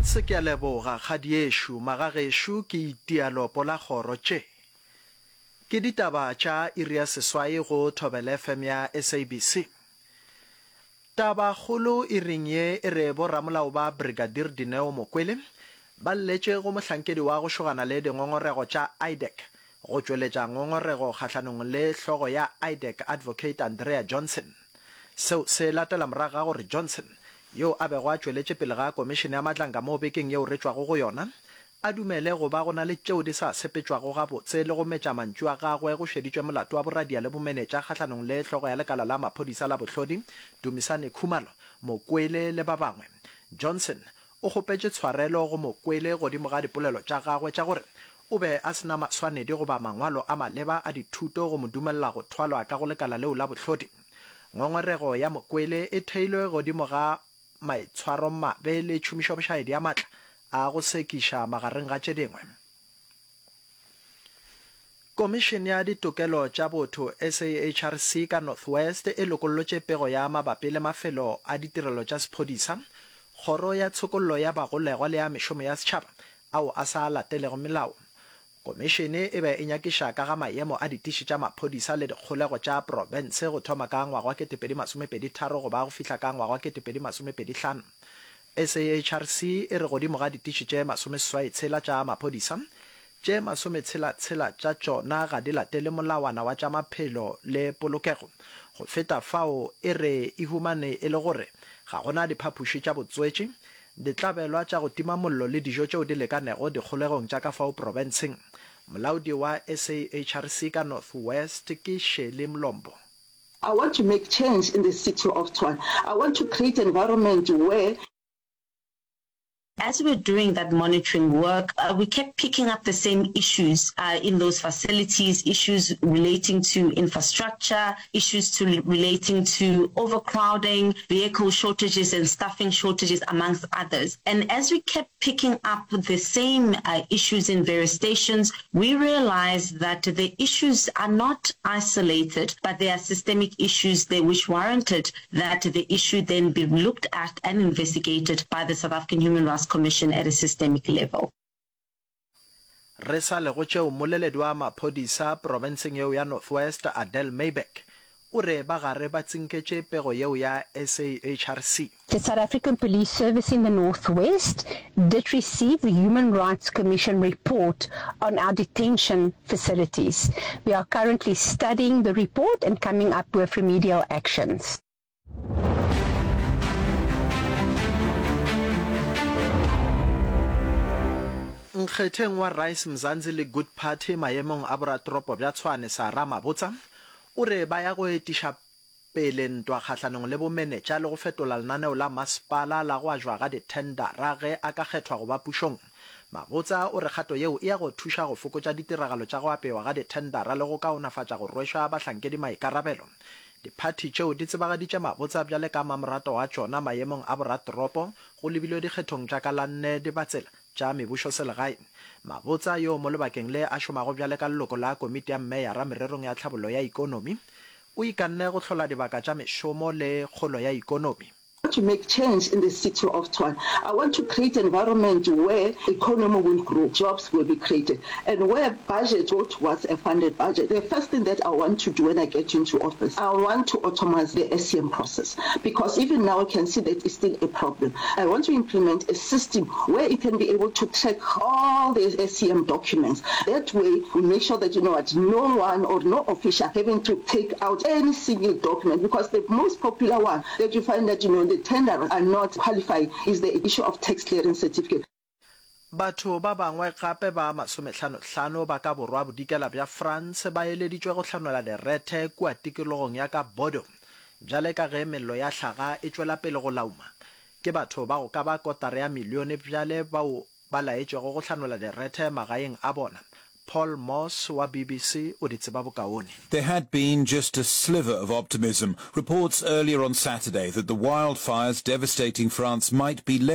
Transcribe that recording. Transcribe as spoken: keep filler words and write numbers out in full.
Florence, Ke a leboga, kgadiešo. Magagešo ke itia lopo la kgoro. Tše ke ditaba tša iri ya seswai go Thobela FM ya SABC. Tabakgolo iring ye e re boramolao ba Brigadier Dineo Mokwele ba lletše go mohlankedi wa go šogana le dingongorego tša IDAC go tšweletša ngongorego kgahlanong le hlogo ya IDAC Advocate Andrea Johnson. Seo se latela morago ga gore Johnson, yo a bego a tšweletše pele ga Komišene ya Madlanga mo bekeng yeo re tšwago go yona, a dumele go ba go na le tšeo di sa sepetšwago gabotse le go metša mantšu a gagwe go šeditšwe molato wa boradia le bomenetša kgahlanong le hlogo ya lekala la maphodisa la bohlodi, Dumisani Khumalo, Mokwele le ba bangwe. Johnson o kgopetše tshwarelo go Mokwele godimo ga dipolelo tša gagwe tša gore o be a se na maswanedi goba mangwalo a maleba a dithuto go mo dumelela go thwalwa ka go lekala leo la bohlodi. Ngongorego ya Mokwele e theilwe godimo ga maitshwaromabe le tšhomišobošaedi ya matla a go sekiša magareng ga tše dingwe. Komišene ya Ditokelo tša Botho, SAHRC, ka North West e lokollotše pego ya mabapi le mafelo a ditirelo tša sephodisa, Kgoro ya Tshokollo ya Bagolegwa le ya Mešomo ya Setšhaba ao a sa latelego melao. Komišene e be e nyakiša ka ga maemo a ditiši tša maphodisa le dikgolego tša profense go thoma ka ngwaga wa kete pedi masome pedi tharo go ba go fihla ka ngwaga wa kete pedi masome pedi hlano. SAHRC e re godimo ga ditiši tše masome seswai tshela tša maphodisa, tše masome tshela tshela tša tšona ga di latele molawana wa tša maphelo le polokego. Go feta fao e re e humane e le gore ga go na diphapoši tša botswetši, ditlabelwa tša go tima mollo le dijo tšeo di lekanego dikgolegong tša ka fao profenseng. Molaodi wa SAHRC ka North West ke Shirley Mlombo. I want to make change in the city of Tshwane. I want to create an environment where. As we were doing that monitoring work, we kept picking up the same issues in those facilities, issues relating to infrastructure, issues to relating to overcrowding, vehicle shortages and staffing shortages, amongst others. And as we kept picking up the same uh, issues in various stations, we realized that the issues are not isolated, but they are systemic issues there which warranted that the issue then be looked at and investigated by the South African Human Rights Commission at a systemic level. Re sa le go tšeo, mmoleledi wa maphodisa profenseng yeo ya North West, Adele Myburgh, o re ba gare ba tsinketše pego yeo ya SAHRC. The South African Police Service in the North West did receive the Human Rights Commission report on our detention facilities. We are currently studying the report and coming up with remedial actions. Nkgetheng wa Rise Mzansi le Good Party maemong a boratoropo bja Tshwane Sarah Mabotsa o re ba ya go etiša pele ntwa kgahlanong le bomenetša le go fetola lenaneo la masepala la go ajwa ga dithendara ge a ka kgethwa go ba pušong. Mabotsa o re kgato yeo e ya go thuša go fokotša ditiragalo tša go apewa ga dithendara le go kaonafatša go rwešwa bahlankedi maikarabelo. Diphathi tšeo di tsebagaditše Mabotsa bjale ka mamorato wa tšona maemong a boratoropo go lebilwe dikgethong tša ka la nne Dibatsela tša mebušoselegae. Mabotsa, yoo mo lebakeng le a šomago bjale ka leloko la komiti ya meyara mererong ya tlhabollo ya ikonomi, o ikanne go hlola dibaka tša mešomo le kgolo ya ikonomi. To make change in the city of Tshwane. I want to create an environment where economy will grow, jobs will be created and where budget go towards a funded budget. The first thing that I want to do when I get into office, I want to automize the S C M process because even now I can see that it's still a problem. I want to implement a system where it can be able to track all the S C M documents. That way we make sure that, you know what, no one or no official having to take out any single document, because the most popular one that you find that, you know, the tenderers are not qualified is the issue of tax clearance certificate. Batho ba bangwe gape ba masomehlano-hlano ba ka borwa-bodikela bja France ba eleditšwe go hlanola direthe kua tikologong ya ka Bordeaux bjale ka ge mello ya hlaga e tšwela pele go lauma. Ke batho ba go ka ba kotara ya milione bjale bao ba laetšwego go hlanola direthe magaeng a bona. Paul Moss wa B B C o di tseba bokaone. There had been just a sliver of optimism. Reports earlier on Saturday that the wildfires devastating France might be less